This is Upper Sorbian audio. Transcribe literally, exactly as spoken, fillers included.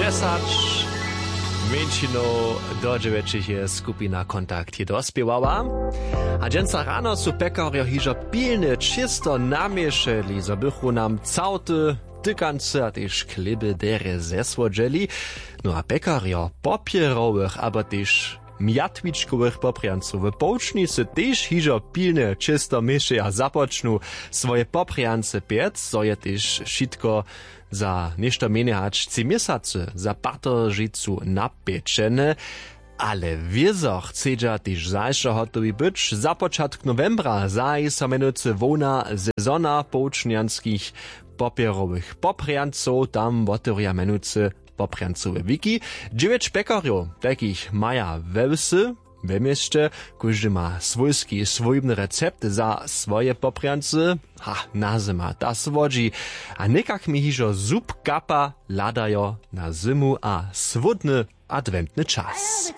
Dźesać mjeńšinow do dźewjećich je skupina Kontakt je dospěwała. A dźensa rano su pjekarjo hižo pilnje čěsto naměšeli, zo bychu nam całty, tykancy a tež chlěby derje zesłodźeli. No a pjekarjo popjerowych abo tež mjatwičkowych poprjancow w połčnicy tež hižo pilnje čěsto měšeja, započnu swoje poprjance pjec, zo je tež wšitko za něšto mjenje hač tři měsacy za pateržicu napječene. Ale wězo chcedźa tež zašo hotowi być. Za počatk nowembra zaji so mjenujcy hłowna sezona połčnjanskich popjerowych poprjancow, tam wotewrja mjenujcy poprjancowe wiki. Dźewjeć pjekarjow tajkich maja we wsy, we měsće. Kóždy ma swójski swójbny recept za swoje poprjancy. Ha, na zyma ta słodźi, a někak mi hižo zub kapa, hladajo na zymu a słódny adwentny čas.